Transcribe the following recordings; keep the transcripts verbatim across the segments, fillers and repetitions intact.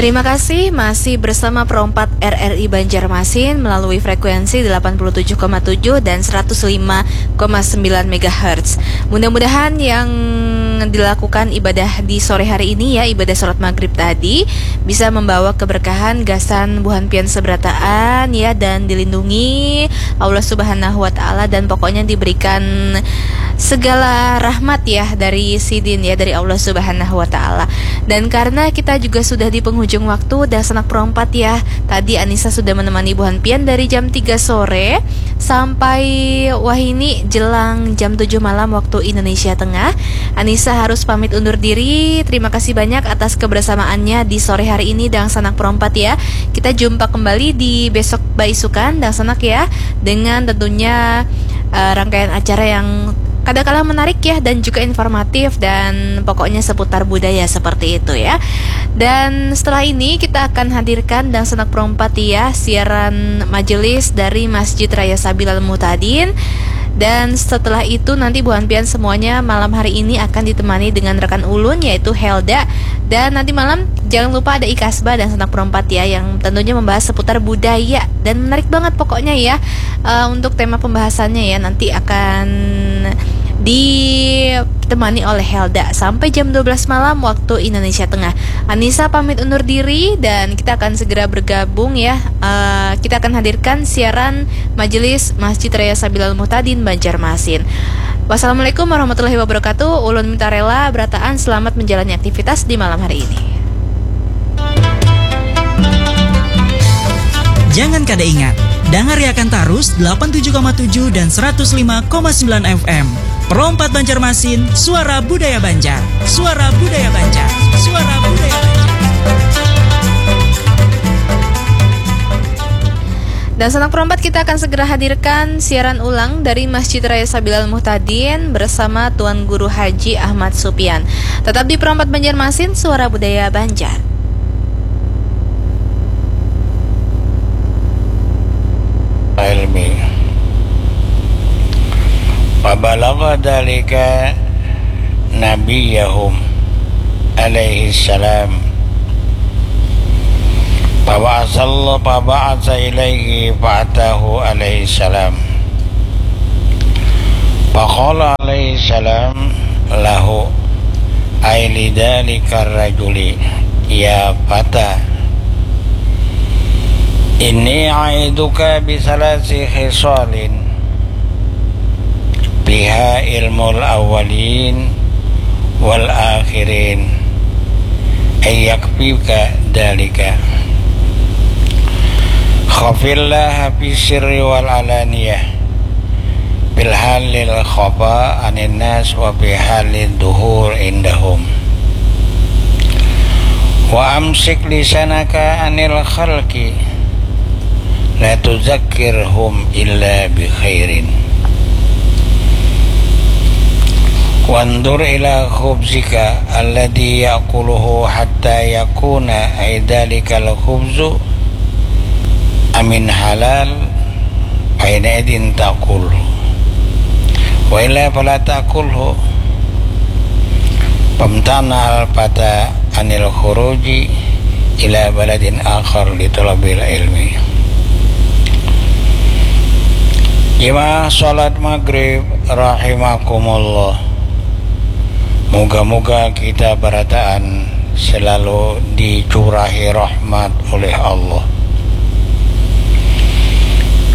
Terima kasih, masih bersama Pro empat R R I Banjarmasin melalui frekuensi delapan puluh tujuh koma tujuh dan seratus lima koma sembilan megahertz. Mudah-mudahan yang dilakukan ibadah di sore hari ini, ya, ibadah salat maghrib tadi, bisa membawa keberkahan gasan buhan pian seberataan, ya, dan dilindungi Allah Subhanahu wa Ta'ala, dan pokoknya diberikan segala rahmat, ya, dari Sidin, ya, dari Allah Subhanahu wa Ta'ala. Dan karena kita juga sudah di penghujung waktu, dah sanak perompat, ya. Tadi Anissa sudah menemani buhan pian dari jam tiga sore sampai wahini jelang jam tujuh malam waktu Indonesia Tengah. Anissa harus pamit undur diri. Terima kasih banyak atas kebersamaannya di sore hari ini, dang sanak perompat, ya. Kita jumpa kembali di besok baisukan, dang sanak, ya, dengan tentunya eh, rangkaian acara yang kada kalah menarik, ya, dan juga informatif dan pokoknya seputar budaya seperti itu, ya. Dan setelah ini kita akan hadirkan dang sanak perompat, ya, siaran majelis dari Masjid Raya Sabilal Muhtadin. Dan setelah itu nanti buhan pian semuanya malam hari ini akan ditemani dengan rekan ulun, yaitu Helda. Dan nanti malam jangan lupa ada Ikasba dang sanak perompat, ya, yang tentunya membahas seputar budaya dan menarik banget pokoknya, ya. Eh, untuk tema pembahasannya, ya, nanti akan ditemani oleh Helda sampai jam dua belas malam waktu Indonesia Tengah. Anissa pamit undur diri dan kita akan segera bergabung, ya. Eh, kita akan hadirkan siaran Majelis Masjid Raya Sabilal Muhtadin Banjarmasin. Wassalamualaikum warahmatullahi wabarakatuh. Ulun minta rela berataan selamat menjalani aktivitas di malam hari ini. Jangan kada ingat, dangariakan tarus delapan tujuh koma tujuh dan seratus lima koma sembilan F M. Pro empat Banjarmasin, suara budaya Banjar. Suara budaya Banjar. Suara budaya Banjar. Dan sanak perompat, kita akan segera hadirkan siaran ulang dari Masjid Raya Sabilal Muhtadin bersama Tuan Guru Haji Ahmad Supian. Tetap di Pro empat Banjarmasin, suara budaya Banjar. Ilmi. Wa balagha dzalika nabiyyahum alaihi salam. Fa ba'atsallahu, fa ba'atsa ilaihi fa atahu alaihi salam. Fa qala alaihi salam lahu, ai li dzalikar rajuli, ya fata, inni a'iduka bi tsalasi khisalin fiha ilmul awwalin wal akhirin, ay yakfika dzalika. Khafillaha fi sirri wal alaniyah, fil halil khafa anin nas wa fi halid duhur indahum. Wa amsik lisanaka anil khalqi, la tuzakkirhum illa bi khairin. Wandur ila khubzika alladhi ya'kuluhu hatta yakuna, ay dzalikal khubzu, amin halal, fa hina idzin takul. Wa illa fala takulhu. Famtana al fata anil khuruji ila baladin akhar li talabil ilmi. Jemaah salat maghrib rahimakumullah. Muga-muga kita barataan selalu dicurahi rahmat oleh Allah.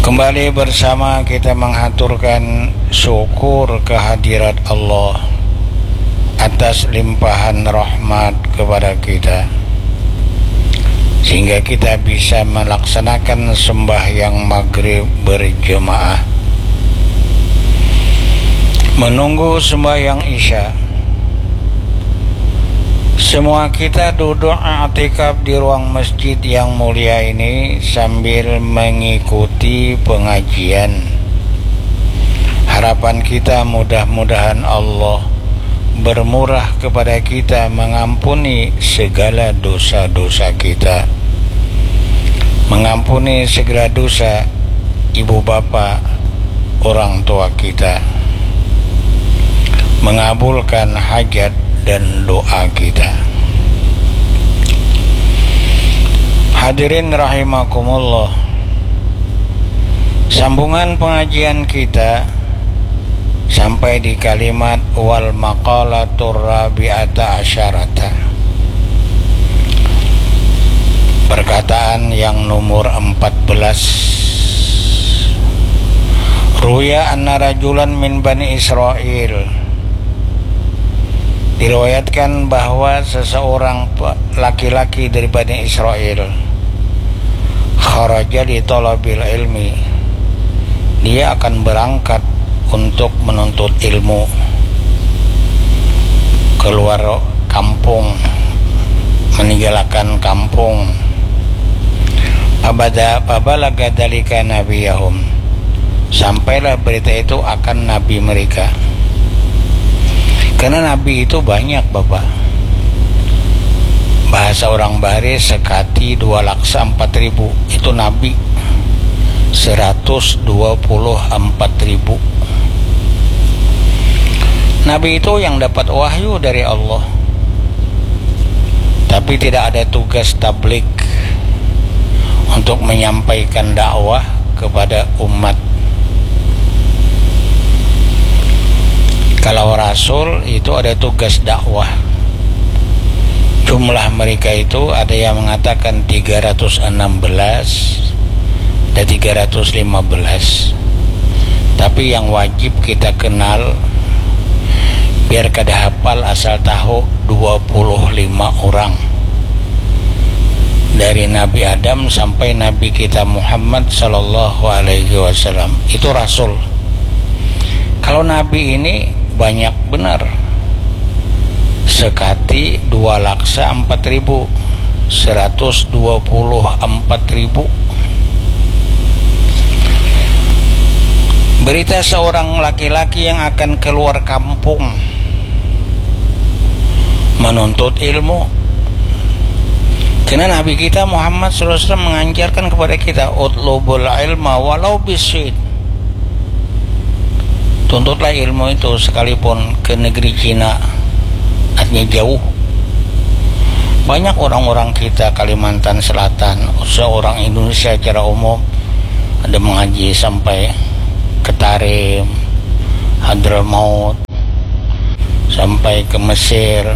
Kembali bersama kita menghaturkan syukur kehadirat Allah atas limpahan rahmat kepada kita, sehingga kita bisa melaksanakan sembahyang maghrib berjemaah, menunggu sembahyang isya. Semua kita duduk i'tikaf di ruang masjid yang mulia ini sambil mengikuti pengajian. Harapan kita, mudah-mudahan Allah bermurah kepada kita, mengampuni segala dosa-dosa kita, mengampuni segala dosa ibu bapa, orang tua kita, mengabulkan hajat dan doa kita. Hadirin rahimakumullah. Sambungan pengajian kita sampai di kalimat wal maqalatur rabi'ata asyarata. Perkataan yang nomor empat belas. Ruya anna rajulan min Bani Israel. Diriwayatkan bahwa seseorang pe-, laki-laki dari Bani Israel kharaja li talabil ilmi, dia akan berangkat untuk menuntut ilmu, keluar kampung, meninggalkan kampung. Pabada-, pabalaga dalika nabiyahum, sampailah berita itu akan nabi mereka. Karena nabi itu banyak, Bapak. Bahasa orang Bahari, sekati dua laksa empat ribu, itu nabi. Seratus dua puluh empat ribu. Nabi itu yang dapat wahyu dari Allah, tapi tidak ada tugas tablig untuk menyampaikan dakwah kepada umat. Kalau rasul itu ada tugas dakwah. Jumlah mereka itu ada yang mengatakan tiga ratus enam belas, ada tiga ratus lima belas. Tapi yang wajib kita kenal, biar kada hafal, asal tahu, dua puluh lima orang. Dari Nabi Adam sampai Nabi kita Muhammad sallallahu alaihi wasallam. Itu rasul. Kalau nabi ini banyak benar. Sekati dua laksa empat ribu, seratus dua puluh empat ribu. Berita seorang laki-laki yang akan keluar kampung menuntut ilmu. Karena Nabi kita Muhammad sallallahu alaihi wasallam mengajarkan kepada kita, "Utlubul ilma walau bisin." Tuntutlah ilmu itu sekalipun ke negeri Cina, artinya jauh. Banyak orang-orang kita Kalimantan Selatan, seorang Indonesia secara umum, ada mengaji sampai ke Tarim, Hadramaut, sampai ke Mesir,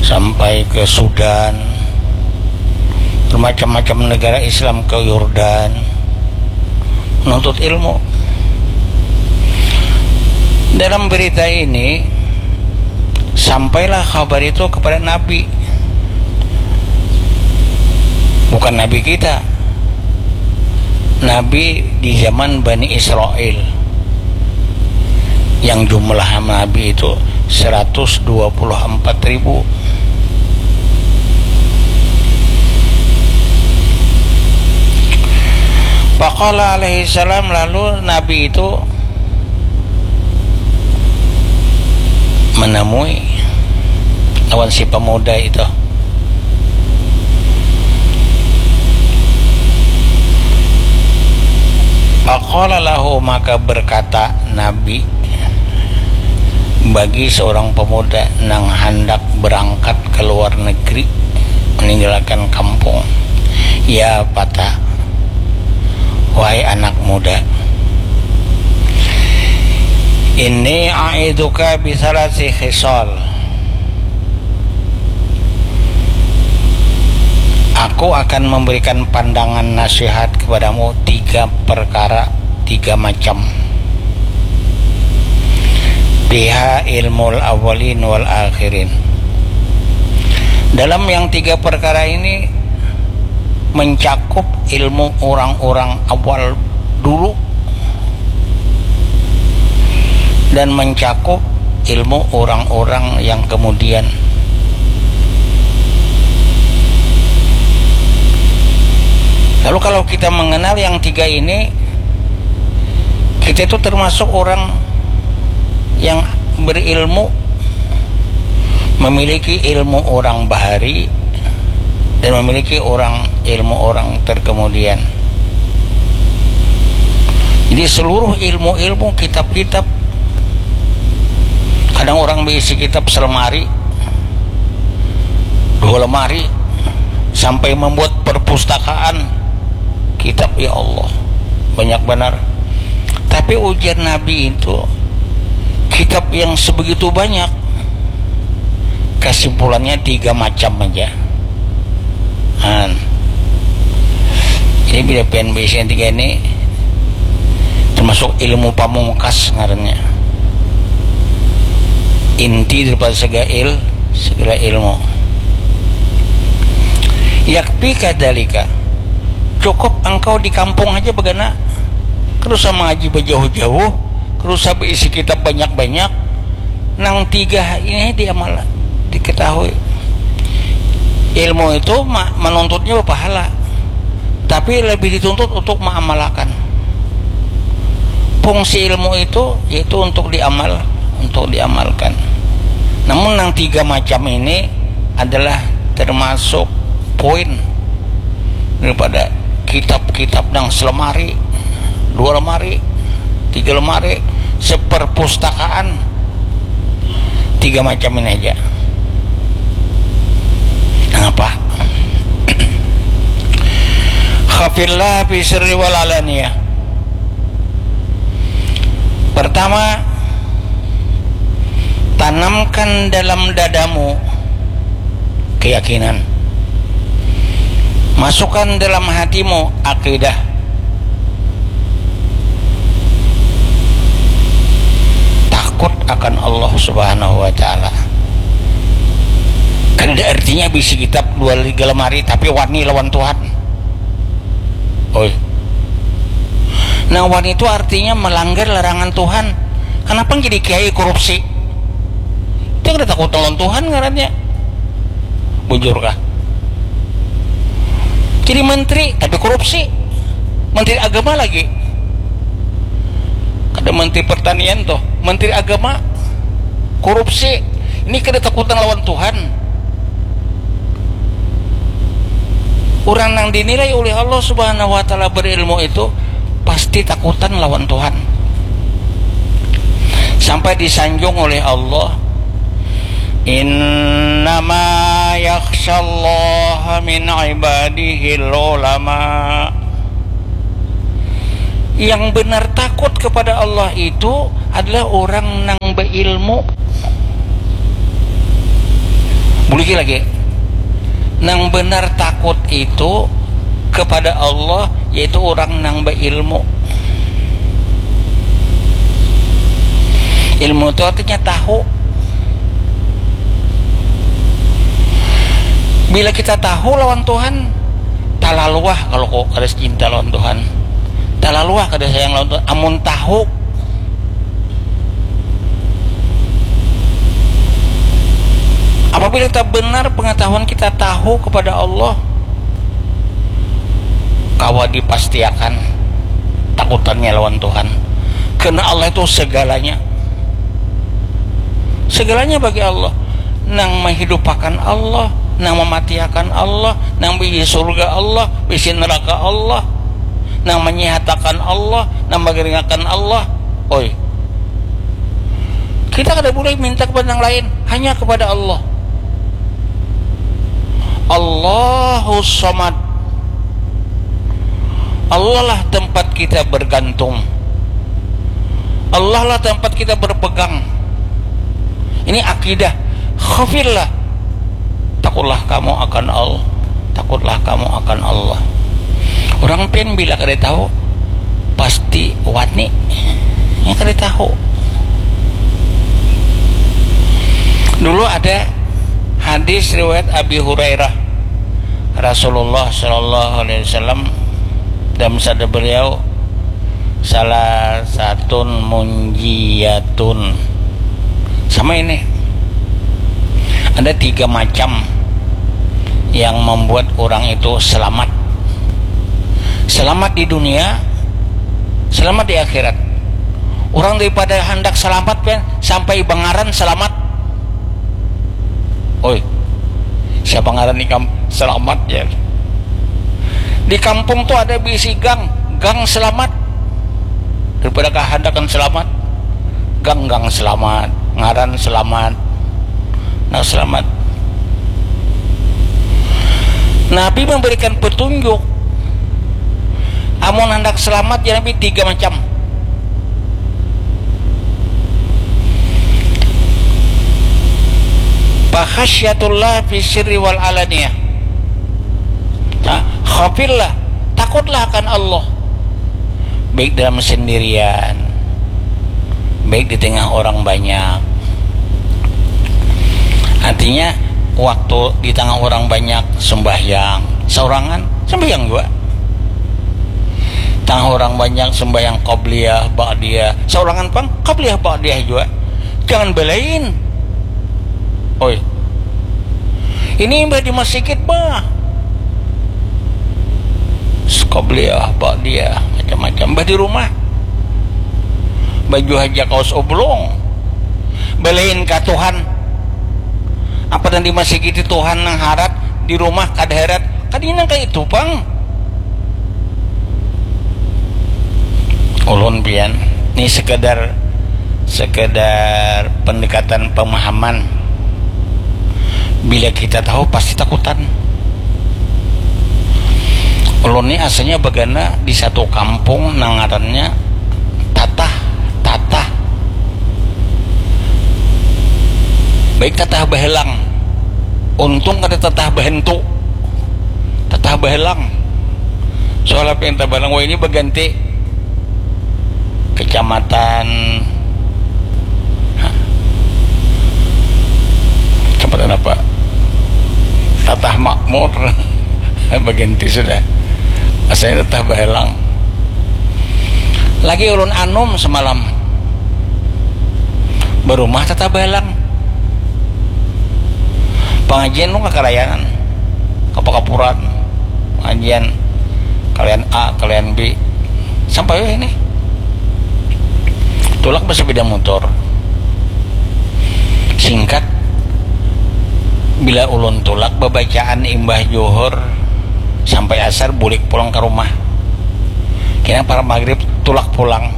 sampai ke Sudan, bermacam-macam negara Islam, ke Yordan, menuntut ilmu. Dalam berita ini, sampailah kabar itu kepada Nabi. Bukan Nabi kita. Nabi di zaman Bani Israel, yang jumlah nabi itu seratus dua puluh empat ribu. Faqala alaihi salam, lalu Nabi itu menemui lawan si pemuda itu. Faqala lahu, maka berkata Nabi bagi seorang pemuda nang handak berangkat ke luar negeri, meninggalkan kampung, "Ya fata, wahai anak muda, ini a'iduka bisalasi khisal." Aku akan memberikan pandangan nasihat kepadamu tiga perkara, tiga macam. Biha ilmul awalin wal akhirin. Dalam yang tiga perkara ini mencakup ilmu orang-orang awal dulu dan mencakup ilmu orang-orang yang kemudian. Lalu kalau kita mengenal yang tiga ini, kita itu termasuk orang yang berilmu, memiliki ilmu orang bahari dan memiliki orang, ilmu orang terkemudian. Jadi seluruh ilmu-ilmu, kitab-kitab, kadang orang berisi kitab selemari, dua lemari, sampai membuat perpustakaan kitab, ya Allah, banyak benar. Tapi ujar Nabi itu, kitab yang sebegitu banyak, kesimpulannya tiga macam aja. Nah, jadi bila pian baisi yang tiga ini, termasuk ilmu pamungkas ngarannya, inti daripada segala il segala ilmu. Yakfika dzalika, cukup engkau di kampung aja bagana, kada usah mangaji bajauh-jauh, kada usah baisi kitab banyak-banyak. Nang tiga ini diamal, diketahui. Ilmu itu ma- menuntutnya berpahala, tapi lebih dituntut untuk mengamalkan. Fungsi ilmu itu yaitu untuk diamal, untuk diamalkan. Namun, yang tiga macam ini adalah termasuk poin daripada kitab-kitab yang selemari, dua lemari, tiga lemari, seperpustakaan, tiga macam ini aja. Kenapa? Khafillah fi sirri wal alaniyah. Pertama, tanamkan dalam dadamu keyakinan. Masukkan dalam hatimu akidah. Takut akan Allah Subhanahu wa Ta'ala. Kada artinya bisi kitab dua tiga lemari tapi wani lawan Tuhan. Oi. Nah, wani itu artinya melanggar larangan Tuhan. Kenapa jadi kiai korupsi? Itu kada takut lawan Tuhan ngarannya. Bujur kah? Jadi menteri tapi korupsi. Menteri agama lagi. Kada menteri pertanian tuh, menteri agama korupsi. Ini kada takutan lawan Tuhan. Orang yang dinilai oleh Allah Subhanahu wa Ta'ala berilmu itu pasti takutan lawan Tuhan. Sampai disanjung oleh Allah, "Innama yakhsyallaha min ibadihil ulama." Yang benar takut kepada Allah itu adalah orang nang berilmu. Buliki lagi. Nang benar takut itu kepada Allah yaitu orang nang berilmu. Ilmu itu artinya tahu. Bila kita tahu lawan Tuhan, talaluah kalau kok kada cinta lawan Tuhan, talaluah kada sayang lawan Tuhan. Amun tahu, apabila kita benar pengetahuan kita tahu kepada Allah, kawa dipastiakan takutannya lawan Tuhan, karena Allah itu segalanya. Segalanya bagi Allah. Nang menghidupakan Allah, nang mematiakan Allah, nang bisi surga Allah, bisi neraka Allah, nang menyehatakan Allah, nang mengeringakan Allah. Oi, kita kada boleh minta kepada yang lain, hanya kepada Allah. Allahus Samad. Allah lah tempat kita bergantung. Allah lah tempat kita berpegang. Ini akidah. Khafillah. Takutlah kamu akan Allah. Takutlah kamu akan Allah. Orang pian bila kada tahu, pasti wani. Ya, kada tahu. Dulu ada hadis riwayat Abi Hurairah, Rasulullah Shallallahu Alaihi Wasallam, dalam sabda beliau, salah satun munjiyatun. Sama ini, ada tiga macam yang membuat orang itu selamat. Selamat di dunia, selamat di akhirat. Orang daripada hendak selamat, kan, sampai bangaran selamat. Oi, siapa ngaran ikam selamat, ya? Di kampung tuh ada bisi gang, gang selamat. Daripada kahandakan selamat, gang-gang selamat, ngaran selamat. Nah, selamat. Nabi memberikan petunjuk, amun handak selamat ya Nabi, tiga macam. Fakhasyatullah fi sirri wal alaniyah. Nah, khafillah, takutlah akan Allah, baik dalam sendirian, baik di tengah orang banyak. Artinya, waktu di tengah orang banyak sembahyang, saurangan sembahyang juga. Tengah orang banyak sembahyang qabliyah, ba'diyah, saurangan pang qabliyah, ba'diyah juga. Jangan belain. Oi, ini imbah di masjid bah, qabliyah, ba'diyah, macam-macam. Bah di rumah, baju haja kaos oblong. Belain ka Tuhan. Apa nang di masjid itu Tuhan nang harat, di rumah kada harat. Kada nang kaya itu pang. Ulun pian, ni sekedar, sekedar pendekatan pemahaman. Bila kita tahu, pasti takutan. Ulun ni asalnya bagana di satu kampung nang ngarannya Tatah, Tatah. Baik Tatah Bahelang. Untung kada Tatah Bahentu. Tatah Bahelang. Soalnya pinta barang, wah, ini baganti kecamatan, hah? Kecamatan apa? Tatah Makmur. Baganti sudah. Asalnya Tatah Bahelang. Lagi ulun anum semalam. Barumah Tatah Bahelang. Pangajian nu kakarayanan. Kapakapuran. Pangajian kalian A, kalian B. Sampai weh ini. Tulak bersepeda motor. Singkat, bila ulun tulak babacaan imbah juhur sampai asar, bulik pulang ka rumah. Kena para maghrib tulak pulang.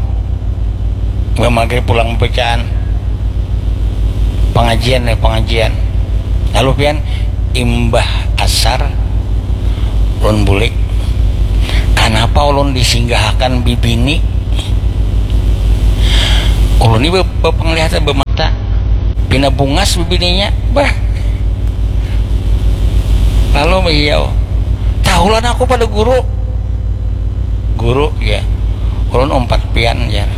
Imbah maghrib pulang babacaan. Pangajian ya, pangajian. Lalu pian, imbah asar, ulun bulik. Kanapa ulun disinggahakan bibini? Ulun ni be-, bepenglihatan bemata. Pina bungas bibininya. Bah. Lalu maiau. Tahulah aku pada guru. Guru, ya. Ulun umpat pian, jar.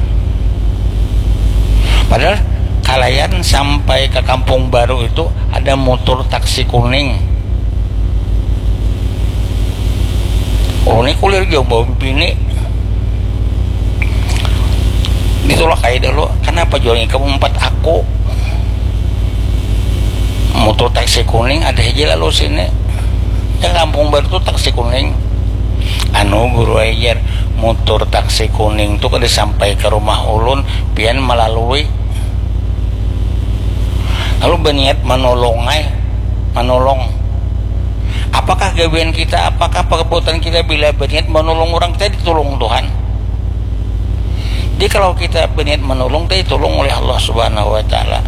Padahal kalayan sampai ke kampung baru itu ada motor taksi kuning. Ulun ni kulir jauh bawa bini. Ditulak aja dulu. Kenapa jual ikam umpat aku? Motor taksi kuning ada aja lalu sini. Ya, kampung baru tuh taksi kuning. Anu, guru ajar, motor taksi kuning tuh kada sampai ke rumah ulun, pian melalui. Lalu berniat menolong, ay, menolong. Apakah gawean kita, apakah perbuatan kita bila berniat menolong orang, kita ditolong Tuhan? Jadi kalau kita berniat menolong, kita ditolong oleh Allah Subhanahu wa Ta'ala.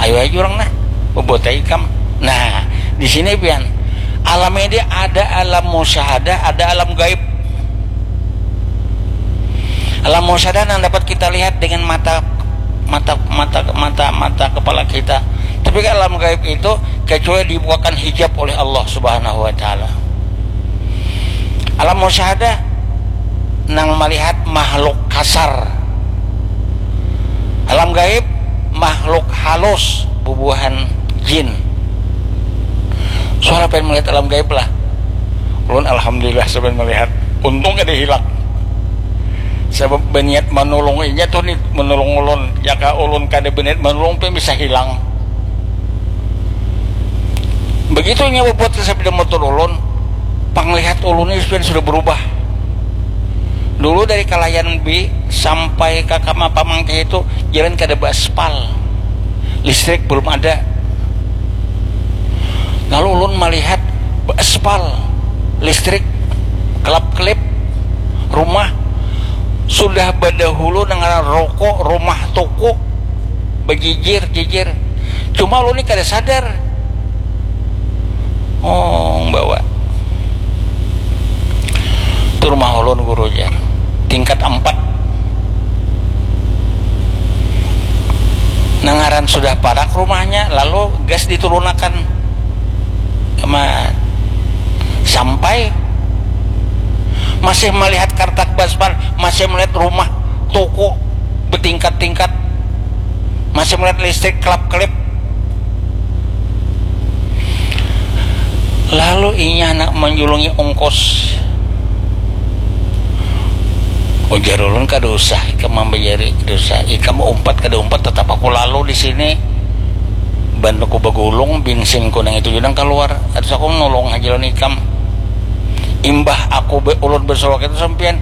Ayo aja orang nah, berbuat aja ikam. Nah, di sini pian, alam ini ada alam musyahadah, ada alam gaib. Alam musyahadah yang dapat kita lihat dengan mata, mata mata mata mata kepala kita. Tapi kan alam gaib itu kecuali dibukakan hijab oleh Allah Subhanahu wa Ta'ala. Alam musyahadah nang melihat makhluk kasar. Alam gaib makhluk halus, bubuhan jin. Soalnya pengen melihat alam gaib lah. Ulun alhamdulillah sampai melihat. Untung kada hilang. Sebab berniat menolong inya tuh nih, menolong ulun. Jika ulun kada berniat menolong, pun bisa hilang. Begitu inya berbuat ke sepeda motor ulun, panglihat ulun ini sudah, sudah berubah. Dulu dari Kalayan B sampai ke Kama Pamangkih itu jalan kada beraspal, listrik belum ada. Lalu ulun melihat beraspal, listrik, kelap-kelip, rumah sudah badahulu dengan rokok, rumah toko, bejijir-jijir. Cuma ulun ni kada sadar. Oh, bahwa Rumah ulun, guru, jar. Tingkat empat. Nah, ngaran sudah parak rumahnya, lalu gas diturunakan. Sama sampai masih melihat kartak baspan, masih melihat rumah, toko bertingkat-tingkat, masih melihat listrik kelap-kelip. Lalu inya handak manjulungi ongkos. Ujar ulun, kada usah ikam mambajari, kada usah. Ikam umpat kada umpat, tetap aku lalu di sini. Ban aku bagulung, binsinku nang itu jua nang kaluar. Harus aku nulung haja lawan ikam. Imbah aku be-, ulun bersuara itu, sampian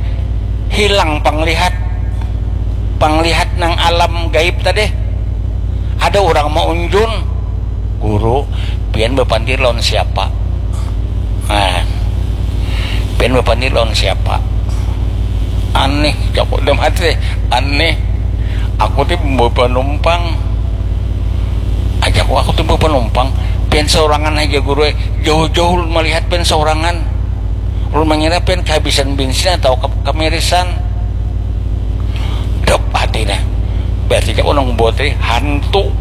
hilang panglihat. Panglihat nang alam gaib tadi. Ada urang maunjun. Guru, pian bapandir lawan siapa? Nah, pian bapandir lawan siapa? Aneh, jaku dalam hati, aneh. Aku ti bawa panumpang. Aja aku, aku ti bawa panumpang. Pian saurangan aja, guru, eh. Jauh-jauh ulun malihat pian saurangan. Ulun mangira pian kahabisan bensin atau ke-, kamirisan. Dep hati nah. Berarti jaku nang buat tadi hantu.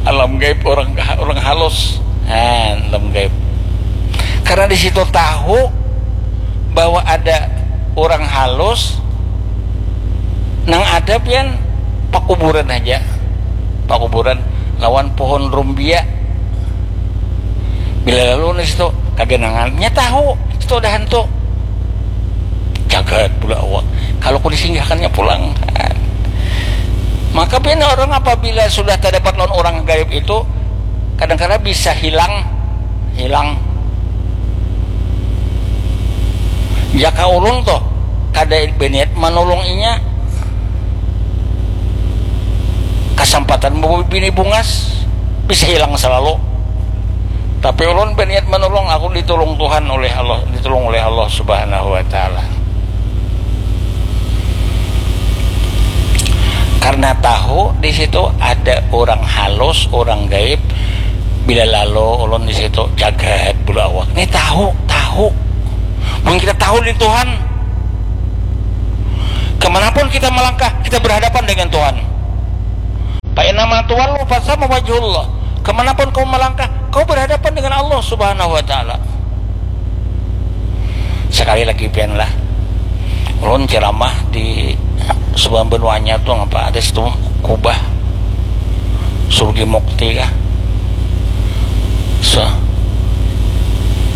Alam gaib orang, orang halus. Nah, alam gaib. Karena di situ tahu bahwa ada orang halus, nang ada pian pakuburan aja. Pakuburan lawan pohon rumbia. Bila lalu di situ kaganangan, nya tahu situ ada hantu. Jagat bulu awak. Kalau ku disinggahkannya pulang. Maka pian orang apabila sudah terdapat lawan orang gaib itu, kadang-kadang bisa hilang, hilang. Jaka ulun tuh kada berniat menolong inya, kesempatan bawa bini bungas bisa hilang selalu. Tapi ulun berniat menolong, aku ditolong Tuhan oleh Allah, ditolong oleh Allah Subhanahu wa Ta'ala. Karena tahu di situ ada orang halus, orang gaib. Bila lalu ulun di situ, jagat bulu awak. Ini tahu, tahu. Mun kita tahu di Tuhan, kemanapun kita melangkah, kita berhadapan dengan Tuhan. Fa innama tuwallu fatsamma wajhullah. Kemanapun kau melangkah, kau berhadapan dengan Allah Subhanahu wa Ta'ala. Sekali lagi pian lah, ulun ceramah di sebuah benua anyar tuh, apa ada situ, Kubah, Surgi Mukti kah, Se-,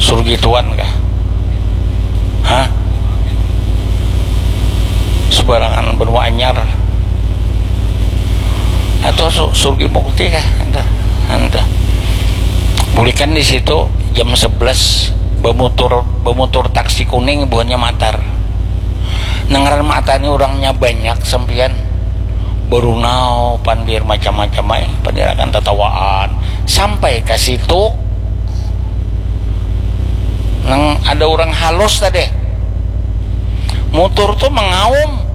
Surgi Tuan kah, hah, sebarangan benua anyar. Atau su-, Surgi Mukti kah? Entah, entah. Bulikan di situ jam sebelas, bemutur, bemutur taksi kuning, buhannya matar. Nang ngaran matar ni urangnya banyak, sampian. Berunau, pandir macam-macam ai, pandir akan tatawaan. Sampai ka situ, nang ada urang halus tadi. Mutur tu mangaum,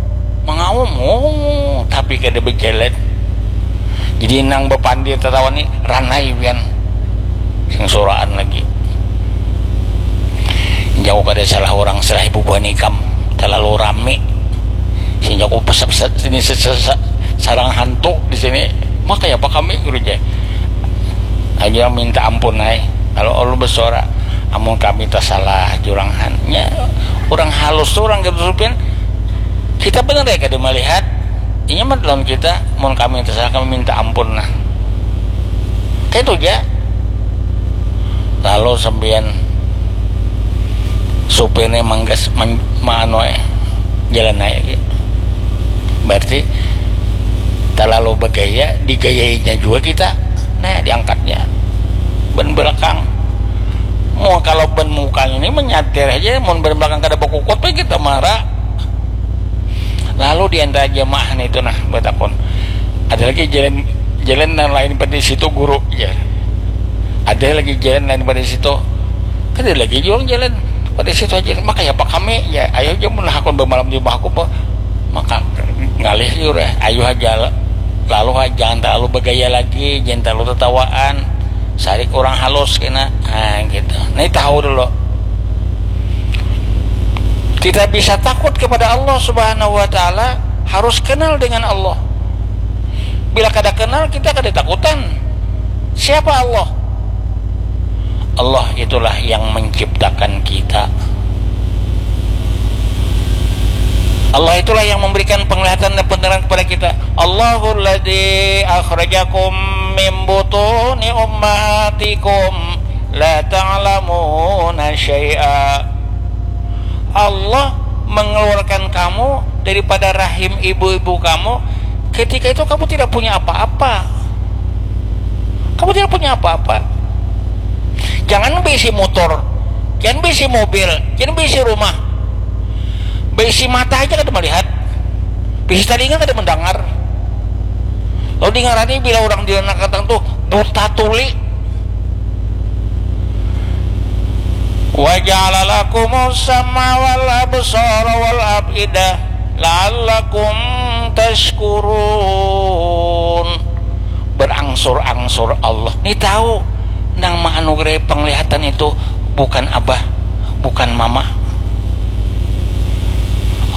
mangaum, oh, tapi kada bajalan. Jadi nang bapandir tatawa ni ranai pian, sing suraan lagi. Jaku kada salah urang, salah ibu buhan ikam, talalu rami. Sing jaku pesat-pesat sini se-, se-, se-, sarang hantu di sini. Maka ya apa kami, guru, jar. Aja minta ampun ai. Kalau Allah bersuara, amun kami tersalah jurang han-, nya urang halus tu, urang gitu supin. Kita benar ya kada melihat. Inya mah lawan kita, mun kami tersalah, kami minta ampun nah. Kayak itu aja. Lalu sampian supirnya manggas, man-, maanu ai, jalan aja gitu. Berarti terlalu bergaya, digayainya juga kita. Nah, diangkatnya ban belakang. Mau kalau ban muka ini menyatir aja, mau ban belakang kada berkukut, kita marah. Lalu di antara jamaah itu nah bertakon, ada lagi jalan, jalan yang lain pada situ, guru, ya. Ada lagi jalan lain pada situ. Kan ada lagi juang jalan pada situ aja. Makanya apa kami, ya, ayo aja mun hakun bamalam di rumah aku, maka ngalih liur ya. Ayo aja, lalu aja, jangan terlalu bergaya lagi, jangan terlalu tertawaan. Sarik orang halus kena, nah gitu. Ini tahu dulu. Kita bisa takut kepada Allah Subhanahu wa Ta'ala, harus kenal dengan Allah. Bila kada kenal, kita kada takutan. Siapa Allah? Allah itulah yang menciptakan kita. Allah itulah yang memberikan penglihatan dan pendengaran kepada kita. Allahul ladzi akhrajakum min butuni ummahatikum la ta'lamuna syai'a. Allah mengeluarkan kamu daripada rahim ibu-ibu kamu. Ketika itu kamu tidak punya apa-apa. Kamu tidak punya apa-apa. Jangan berisi motor, jangan berisi mobil, jangan berisi rumah. Berisi mata aja kada melihat, berisi telinga kada mendengar. Lalu dengarani bila orang di anak katang tuh buta tuli. Wa ja'ala lakumus sam'a wal absara wal af'idah la'allakum tashkurun. Berangsur-angsur Allah. Ni tahu nang menganugerahi penglihatan itu bukan abah, bukan mama.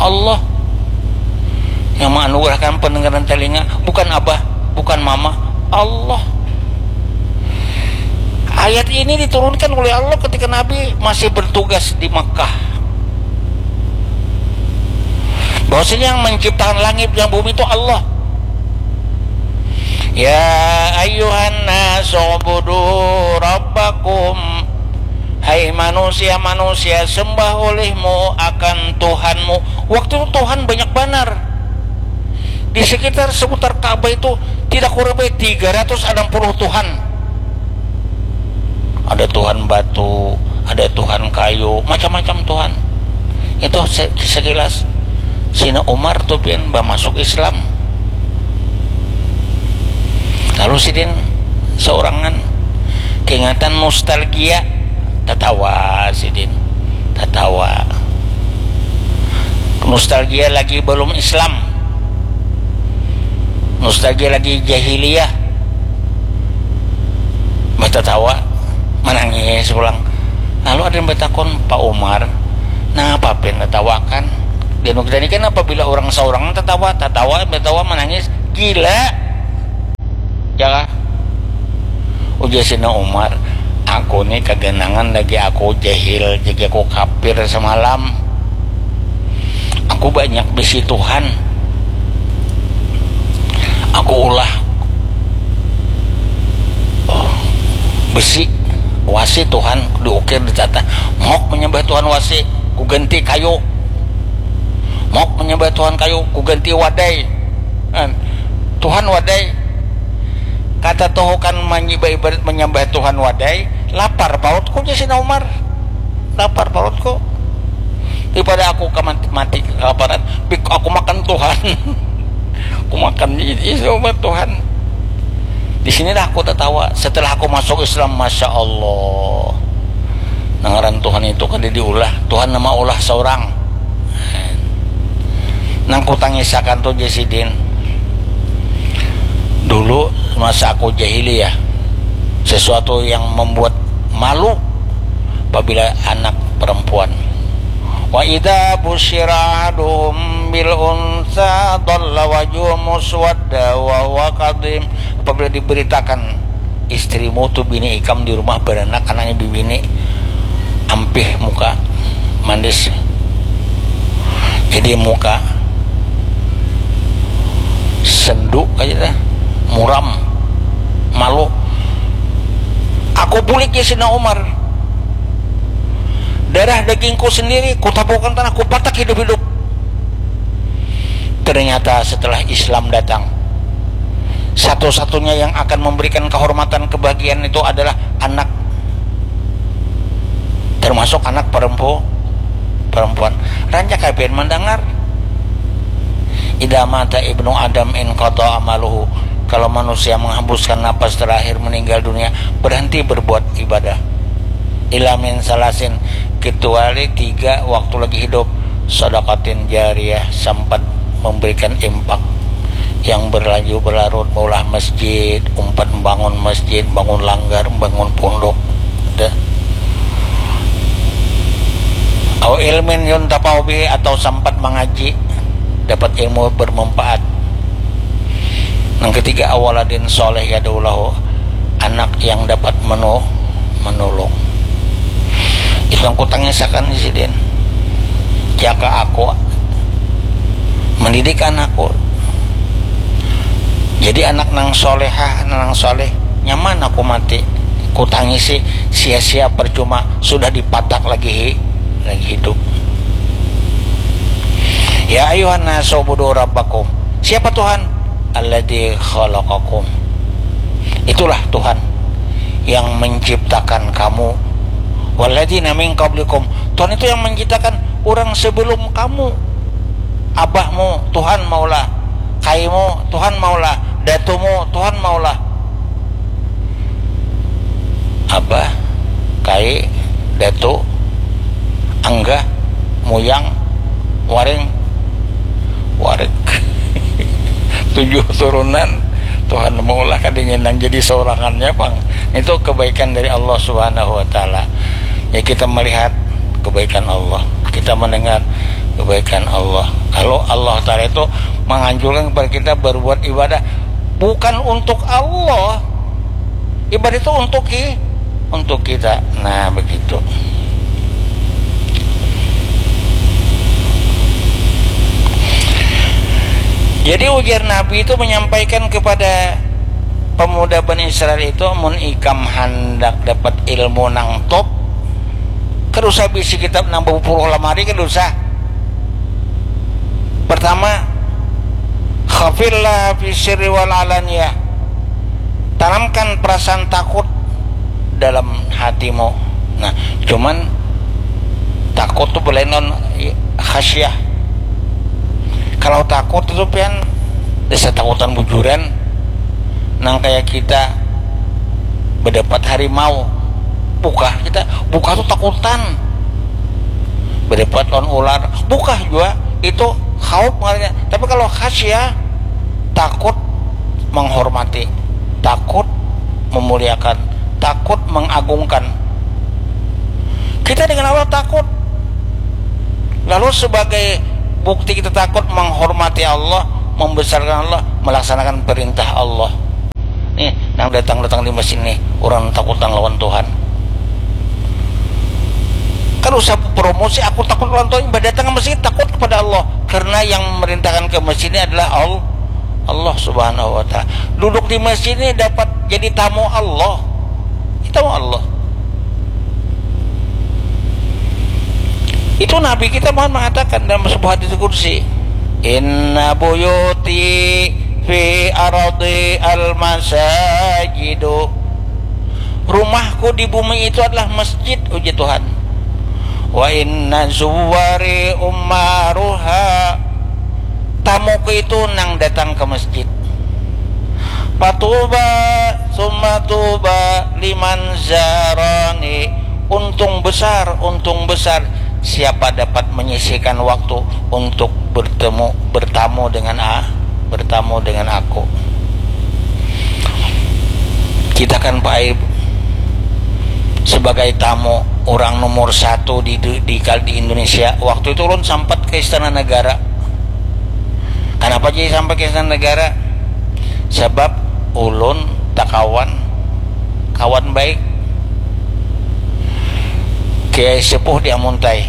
Allah yang menganugerahkan pendengaran telinga, bukan abah, bukan mama, Allah. Ayat ini diturunkan oleh Allah ketika Nabi masih bertugas di Makkah. Bahwasanya yang menciptakan langit dan bumi itu Allah. Ya ayyuhan nasu ubudu rabbakum. Hai manusia-manusia, sembah olehmu akan Tuhanmu. Waktu itu Tuhan banyak banar. Di sekitar seputar Ka'bah itu tidak kurang baik tiga ratus enam puluh Tuhan. Ada Tuhan batu, ada Tuhan kayu, macam-macam Tuhan. Itu se-, sekilas. Sina Umar tu pian bamasuk Islam. Lalu sidin seorangan, keingatan nostalgia, tatawa sidin, tatawa. Nostalgia lagi balum Islam, nostalgia lagi jahiliyah, batatawa, manangis pulang. Lalu ada yang batakun, "Pak Umar, napa pian tatawakan? Di anu kita ni kan apabila urang saurang tatawa, tatawa, batawa, manangis, gila." Jaka, ujar Sina Umar, "Aku ni kaganangan lagi aku jahil, jadi aku kafir samalam. Aku banyak bisi Tuhan. Aku ulah besi, wasi Tuhan, diukir, ditata. Mauk menyembah Tuhan wasi, ku ganti kayu. Mauk menyembah Tuhan kayu, ku ganti wadai." Kan? Tuhan wadai. Kata tuh kan manyi-, baibarat menyembah Tuhan wadai, lapar parutku, jar Sina Umar. Lapar parutku. Daripada aku ka mati, mati kelaparan, bik aku makan Tuhan. Aku makan i-, i-, Tuhan. Di sinilah aku tatawa. Setelah aku masuk Islam, masya Allah. Nang ngaran Tuhan itu kada diulah. Tuhan nama ulah saurang. Nang kutangisakan tu, jar sidin, dulu masa aku jahiliyah, sesuatu yang membuat malu apabila anak perempuan. Wa idza busyira ahaduhum bil unsa dhalla wajhuhu muswadda wa huwa kadhim. Apabila diberitakan istrimu tu bini ikam di rumah beranak, anaknya bibini, ampih muka, manis. Jadi muka sendu aja dah, muram, malu. Aku bulik ya Sina Umar. Darah dagingku sendiri, kutabuhkan tanah, kupatak hidup-hidup. Ternyata setelah Islam datang, satu-satunya yang akan memberikan kehormatan, kebahagiaan itu adalah anak, termasuk anak perempu-, perempuan. Rancak kalian mendengar, "Idza mata ibnu Adam inqata amaluhu." Kalau manusia menghembuskan napas terakhir meninggal dunia, berhenti berbuat ibadah. Illa min salasin, kecuali tiga waktu lagi hidup. Sadaqatin jariyah, sempat memberikan infak yang berlanjut berlarut, maulah masjid, umpat membangun masjid, bangun langgar, bangun pondok. Dah. Au ilmin yuntafa'u bihi, atau sampat mangaji, dapat ilmu bermanfaat. Nang ketiga, awaladin soleh yad'u lahu, anak yang dapat menu-, menolong. Itu yang kutangisakan di sidin. Jaka aku mendidik anakku. Jadi anak nang solehah, anak nang soleh, nyaman aku mati. Kutangisi, sia-sia, percuma, sudah dipatak lagi hi-, lagi hidup. Ya ayuhan nasu ubudu rabbakum. Siapa Tuhan? Alladzi khalaqakum. Itulah Tuhan yang menciptakan kamu. Walladzina min qablikum. Tuhan itu yang menciptakan orang sebelum kamu. Abahmu Tuhan maulah, kaimu Tuhan maulah, datumu Tuhan maulah. Abah, kai, datu, anggah, muyang, waring, warik. Tujuh turunan, Tuhan maulah kadinginan jadi sorangannya pang. Itu kebaikan dari Allah Subhanahu wa Ta'ala. Ya, kita melihat kebaikan Allah, kita mendengar kebaikan Allah. Kalau Allah Ta'ala itu menganjurkan kepada kita berbuat ibadah bukan untuk Allah, ibadah itu untuk ki-, untuk kita. Nah, begitu. Jadi ujar Nabi itu menyampaikan kepada pemuda Bani Israel itu, mun ikam handak dapat ilmu nang top, kada usah bisi kitab nang bapuluh lamari, kada usah. Pertama, khafillah fi sirri wal alaniyah. Tanamkan perasaan takut dalam hatimu. Nah, cuman takut tuh belain lawan khasyah. Kalau takut itu pian dasar takutan bujuran, nang kayak kita berdebat harimau, bukah kita, bukah tuh takutan. Berdebat lawan ular, bukah juga, itu khauf ngarannya. Tapi kalau khasyah, takut menghormati, takut memuliakan, takut mengagungkan. Kita dengan Allah takut. Lalu sebagai bukti kita takut, menghormati Allah, membesarkan Allah, melaksanakan perintah Allah. Nih, nang datang-datang di masjid nih, orang takutan lawan Tuhan. Kada usah promosi, aku takut lawan Tuhan, imbah datang ke masjid takut kepada Allah. Karena yang memerintahkan ke masjid ini adalah Al-, Allah Subhanahu wa Ta'ala. Duduk di masjid ini dapat jadi tamu Allah. Tamu Allah. Itu Nabi kita Muhammad mengatakan dalam sebuah hadis kursi, "Inna buyuti fi ardi al-masajidu." Rumahku di bumi itu adalah masjid, uji Tuhan. "Wa inna zuwari ummaruha." Tamuku itu nang datang ke masjid. "Fatuba, summa tuba liman zarani." Untung besar, untung besar siapa dapat menyisihkan waktu untuk bertemu, bertamu dengan a-, bertamu dengan aku. Kita kan, Pak Aib, sebagai tamu orang nomor satu di, di, di, di Indonesia. Waktu itu ulun sampat ke Istana Negara. Kenapa jadi sampai ke Istana Negara? Sebab ulun takawan, kawan baik Kiai Sepuh di Amuntai,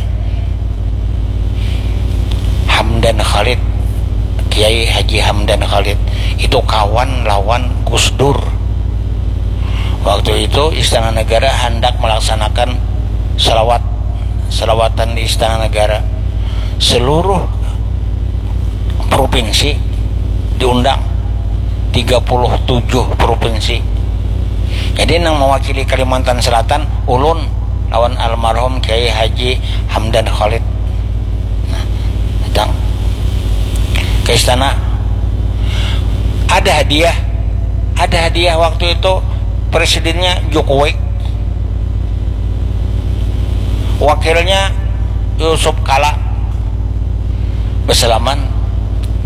Hamdan Khalid, Kiai Haji Hamdan Khalid. Itu kawan lawan Gus Dur. Waktu itu Istana Negara hendak melaksanakan selawat, selawatan di Istana Negara. Seluruh provinsi diundang, tiga puluh tujuh provinsi. Jadi nang mewakili Kalimantan Selatan, ulun lawan almarhum Kiai Haji Hamdan Khalid. Nah, datang ke istana. Ada hadiah, ada hadiah waktu itu presidennya Jokowi, wakilnya Yusuf Kala. Bersalaman,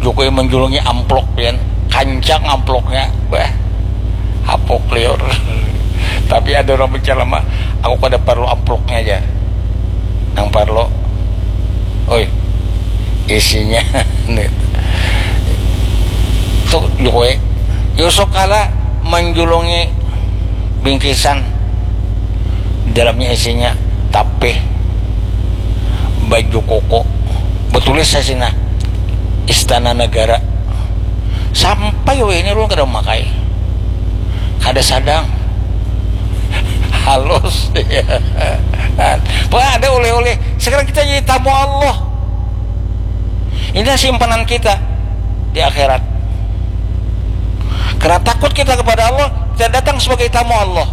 Jokowi menjulungi amplop, pian. Kancang amplopnya, bah, hapuk liur. Tapi ada orang bicara mah, "Aku kada perlu amplopnya aja. Yang perlu isinya. Tuh, Jokowi. Yusuf kala menjulungi bingkisan, dalamnya isinya tapih, baju koko, betulis sasina Istana Negara. Sampai weh ini ulun kada memakai, kada sadang. Halus. Wah, ada oleh-oleh. Sekarang kita jadi tamu Allah. Ini simpanan kita di akhirat. Karena takut kita kepada Allah, kita datang sebagai tamu Allah.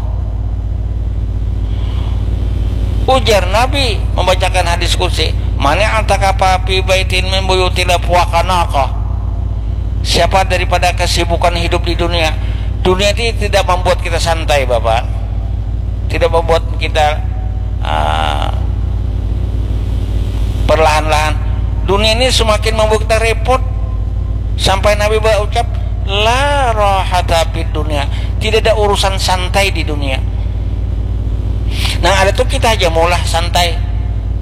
Ujar Nabi membacakan hadis qudsi, "Mani atakafa fi baitin min buyutillah fuakanaka." Siapa daripada kesibukan hidup di dunia, dunia ini tidak membuat kita santai, Bapak. Tidak membuat kita, ah, perlahan-lahan. Dunia ini semakin membuat kita repot. Sampai Nabi berucap, "La rahata fid dunia." Tidak ada urusan santai di dunia. Nah, ada tuh kita aja maulah santai.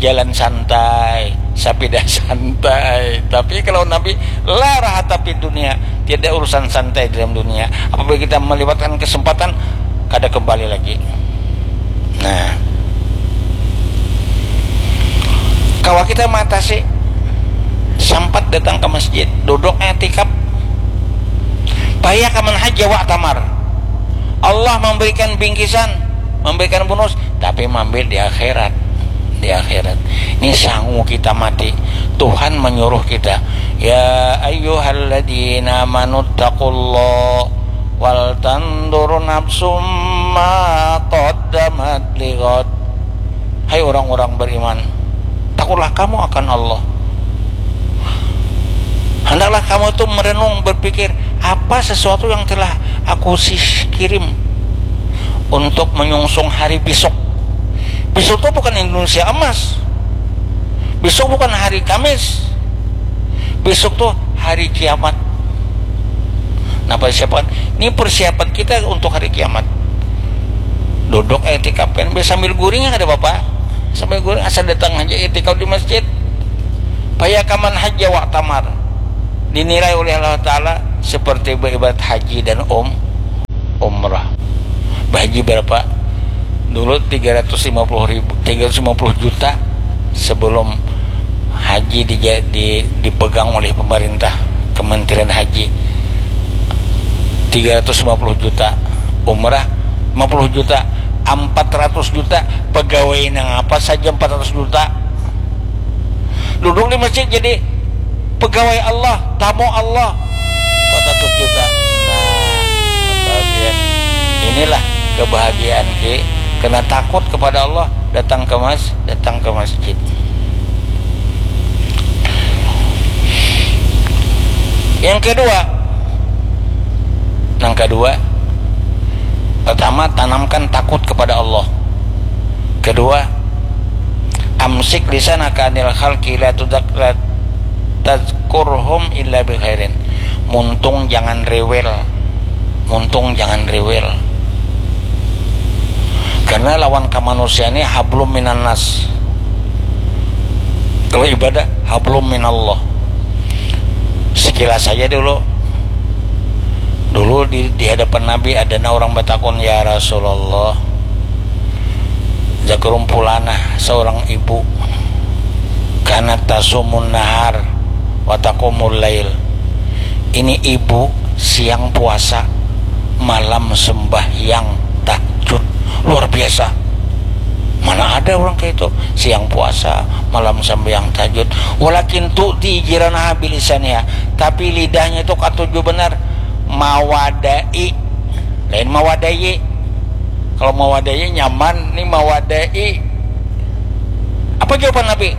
Jalan santai, sapida santai. Tapi kalau Nabi, "La rahata fid dunia." Tidak ada urusan santai dalam dunia. Apabila kita melewatkan kesempatan, kada kembali lagi. Nah, kawa kita mengatasi, sampat datang ke masjid, duduk etikaf. Paya kaman haja wa tamar. Allah memberikan bingkisan, memberikan bonus, tapi mampir di akhirat. Di akhirat. Ini sangu kita mati. Tuhan menyuruh kita, "Ya ayyuhalladzina amanu taqullah wal tandur nafsum ma qaddamat lighad." Hai orang-orang beriman, takutlah kamu akan Allah. Hendaklah kamu itu merenung, berpikir, apa sesuatu yang telah aku sis- kirim untuk menyungsung hari besok. Besok tuh bukan Indonesia emas. Besok bukan hari Kamis. Besok tuh hari kiamat. Nah, persiapan, ini persiapan kita untuk hari kiamat. Duduk etikaf kan, sambil guring ya kada apa-apa. Sambil guring, asal datang aja etikaf di masjid. Paya kaman haja wa tamar. Dinilai oleh Allah Ta'ala seperti beribadat haji dan um, umrah. Bahaji berapa? Dulu tiga ratus lima puluh ribu, tiga ratus lima puluh juta sebelum haji dija-, di-, dipegang oleh pemerintah, Kementerian Haji. Tiga ratus lima puluh juta. Umrah lima puluh juta, empat ratus juta. Pegawai nang apa saja empat ratus juta. Duduk di masjid jadi pegawai Allah, tamu Allah, empat ratus juta. Nah, bahagia. Inilah kebahagiaan ki, karena takut kepada Allah, datang ke mas-, datang ke masjid. Yang kedua, yang kedua, pertama, tanamkan takut kepada Allah. Kedua, amsik lisanaka anil khalqi la tudak-, la tazkurhum illa bi khairin. Muntung jangan rewel. Muntung jangan rewel. Karena lawan kamanusiaan ini hablum minan nas. Kalau ibadah, hablum minallah. Sekilas saja dulu. Dulu di, di hadapan Nabi ada nah orang batakun, "Ya Rasulullah, zakrumpulanah seorang ibu, kanat tasumun nahar wa taqumul lail." Ini ibu siang puasa, malam sembahyang tahajud. Luar biasa. Mana ada orang kayak itu, siang puasa, malam sembahyang tahajud. Walakin tu'dzi jiranaha bilisaniha. Tapi lidahnya itu katuju benar mawadai. Lain mawadai. Kalau mawadai nyaman, ni mawadai. Apa jawaban Nabi?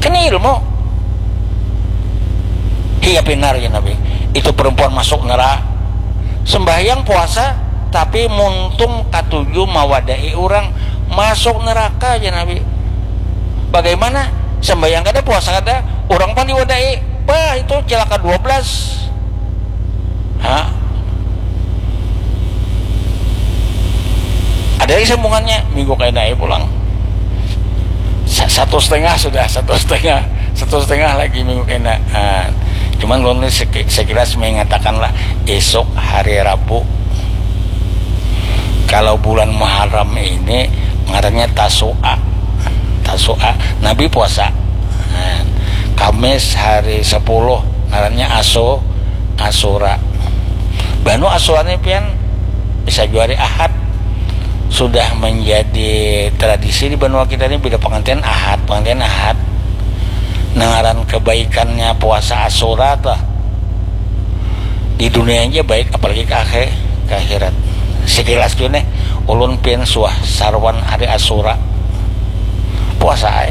Kena ilmu. Hiya pinar, ya Nabi. Itu perempuan masuk neraka. Sembahyang puasa, tapi muntung katuju mawadai orang, masuk neraka, ya Nabi. Bagaimana? Sembahyang kada, puasa kada, orang pang diwadai. Bah, itu cilaka dua belas. Ha? Ada lagi sambungannya, minggu kaina ai pulang. Satu setengah sudah, satu setengah, satu setengah lagi minggu kena. Ah, cuman ulun ni seki-, sekilas mengatakan lah, esok hari Rabu, kalau bulan Muharram ini ngarannya Tasu'a. Tasu'a, Nabi puasa. Nah, Kamis hari sepuluh ngarannya Asu-, Asura. Banu Asura ni pian bisa jua hari Ahad. Sudah menjadi tradisi di banua kita ni, bila pengantin Ahad, pengantin Ahad. Nah, ngaran kebaikannya puasa Asura tuh di dunia aja baik, apalagi ke akhir, ke akhirat. Sekilas tuh nih, ulun pian suah saruan hari Asura puasa ai.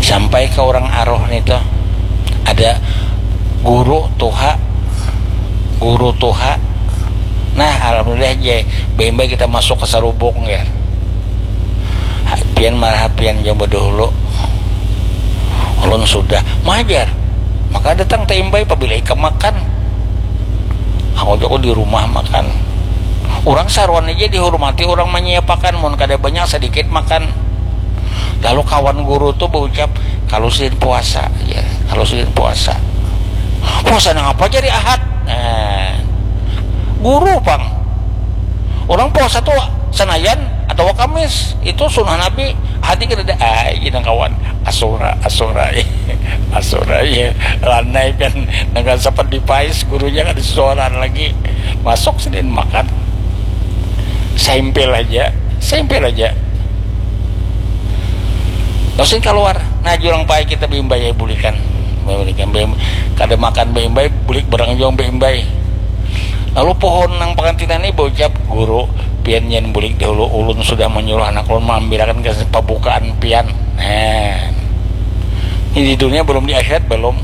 Sampai ke orang aroh nih tuh, ada guru tuha, guru tuha. Nah, alhamdulillah je, bembe kita masuk ke sarubuk ya. Pian marah pian jang badahulu. Ulun sudah majar. Maka datang taimbai pabila ikam makan. Aku joko di rumah makan. Orang saruan aja dihormati, orang menyiapakan, mun kada banyak sedikit makan. Lalu kawan guru tuh berucap, kalau sidin puasa, ya, kalau sidin puasa. Puasa nang apa jadi Ahad? Nah, guru pang. Orang puasa tuh Senayan atau Kamis, itu sunnah Nabi. Hati kada ada, ah, ini kawan. Asura, Asura, Asura, ya. Lanai kan, dengan sempat dipais, gurunya kan suaraan lagi. Masuk sidin makan. Sempil aja, sempil aja. Langsung keluar. Nah, jurang pai kita bimbai ya, bulikan. Bulikan, bim-, kada makan bimbai, bulik barang juang bimbai. Lalu pohon nang pengantinan ini berucap, guru, pian nyen bulik dahulu, ulun sudah menyuruh anak ulun mengambilakan ke pembukaan pian. Nah, ini di dunia belum, di akhirat belum.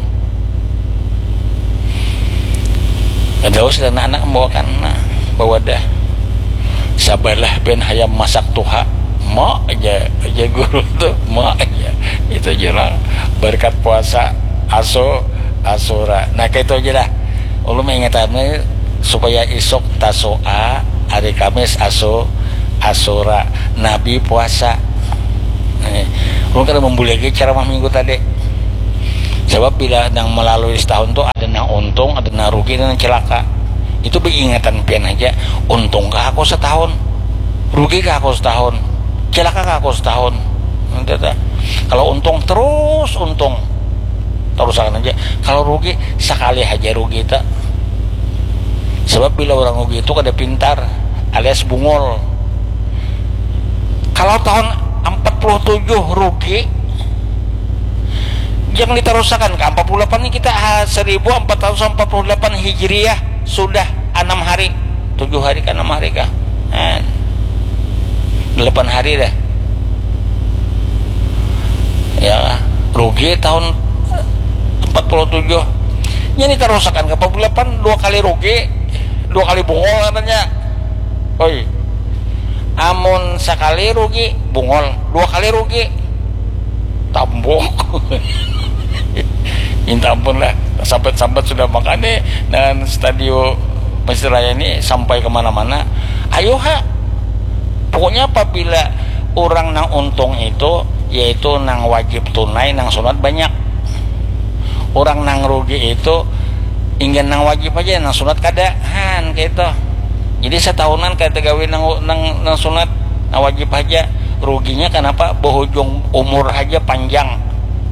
Ada sudah anak-anak membawakan, nah, bawadah. Sabalah ben hayam masak tuha. Ma aja, aja guru tuh, ma aja. Itu jurang berkat puasa aso asura. Nah, kayak itu aja dah. Ulun mengingatkan supaya isuk Tasu'a, hari Kamis aso asura, Nabi puasa. Eh, ulun kada membuli lagi ceramah minggu tadi. Sebab bila nang melalui setahun tuh ada nang untung, ada nang rugi, ada nang celaka. Itu beingatan pian aja, untung kah aku setahun? Rugi kah aku setahun? Celaka kah aku setahun? Kalau untung terus untung, terusakan aja. Kalau rugi, sekali aja rugi tak. Sebab bila orang rugi itu kada pintar, alias bungul. Kalau tahun empat puluh tujuh rugi, jangan diterusakan ke empat puluh delapan ini kita, ah, seribu empat ratus empat puluh delapan Hijriah sudah enam hari, tujuh hari kah, enam hari kah? Eh, delapan hari dah. Ya, rugi tahun empat puluh tujuh. Ini terusakan ke empat puluh delapan, dua kali rugi, dua kali bungul katanya. Oi, amun sekali rugi bungul, dua kali rugi tambuk. Minta ampun lah, sambat-sambat sudah makan nih dengan stadio Mesir Raya ini sampai kemana-mana. Ayo ha, pokoknya apabila orang nang untung itu, yaitu nang wajib tunai, nang sunat banyak. Orang nang rugi itu ingin nang wajib aja, nang sunat kada, han, kayak itu. Jadi setahunan kada gawe nang, nang, nang sunat, nang wajib aja. Ruginya kenapa? Berujung umur aja panjang,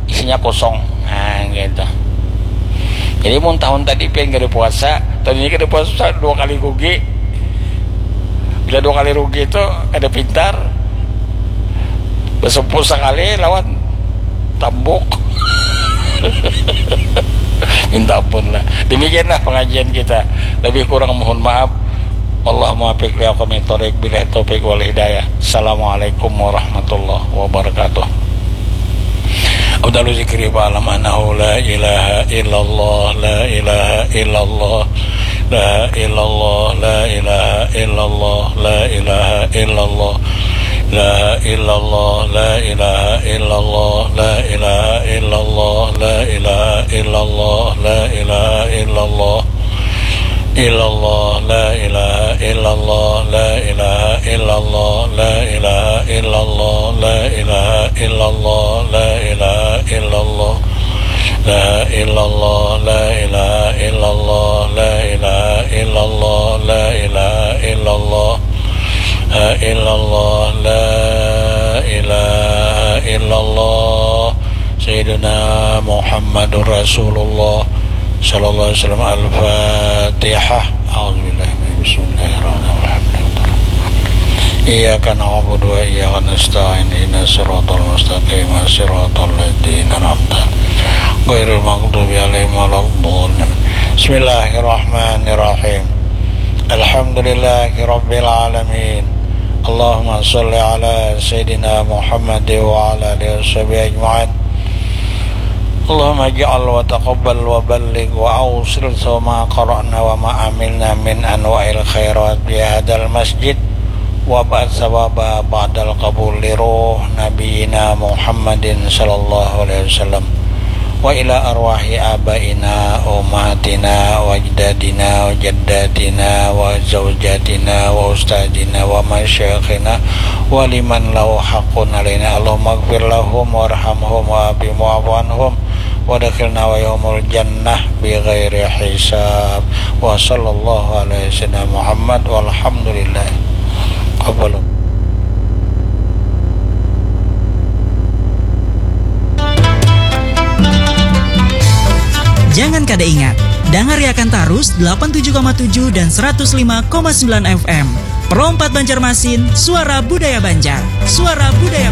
isinya kosong. Nah, gitu. Jadi mun tahun tadi pian kada puasa, tahun ini kada puasa, dua kali rugi. Bila dua kali rugi itu kada pintar. Besempuh sekali lawan tambuk. Minta ampun lah. Demikianlah pengajian kita. Lebih kurang mohon maaf. Allah muwaffiq li aqwamit thoriq, billahi taufiq wal hidayah. Assalamualaikum warahmatullahi wabarakatuh. Afdalu zikri fa'lam annahu la ilaha illallah, la ilaha illallah, la ilallah, la ilaha illallah, la ilaha illallah, la ilaha illallah, la ilaha illallah, la ilaha illallah, la ilaha illallah, la ilaha illallah. Illallah, la ilaha illallah, la ilaha illallah, la ilaha illallah, la ilaha illallah, la ilaha illallah, la ilaha illallah, la ilaha illallah, la ilaha illallah, la ilaha illallah, la ilaha illallah, la ilaha illallah. Sayyiduna Muhammadur Rasulullah sallallahu alaihi wasallam. Al-Fatihah. A'udzubillahi min, bismillahirrahmanirrahim. Iyyaka na'budu wa iyyaka nasta'in. Ihdinas siratal mustaqim. Siratal ladzina an'amta 'alaihim ghairil maghdubi 'alaihim waladdallin. Bismillahirrahmanirrahim. Alhamdulillahi rabbil alamin. Allahumma shalli ala sayyidina Muhammad wa ala alihi washabihi ajma'in. Allahumma ij'al wa taqabbal wa balligh wa awsil sawma qara'na wa ma amilna min anwa'il khairat bi hadal masjid wa ba'd sawaba ba'dal qabul li ruh nabiyina Muhammadin sallallahu alaihi wasallam wa ila arwahi abaina ummahatina wa ajdadina wa jaddatina wa zaujatina wa ustadzina wa masyayikhina wa liman lahu haqqun alaina. Allahumma gfir lahum warhamhum wa afihim wa'fu anhum wa dakhilna wa yaumul jannah bi ghairi hisab. Wa sallallahu ala sayyidina Muhammad walhamdulillah. Qabalu. Jangan kada ingat, dangariakan tarus delapan tujuh koma tujuh dan seratus lima koma sembilan F M. Pro empat Banjarmasin, suara budaya Banjar. Suara budaya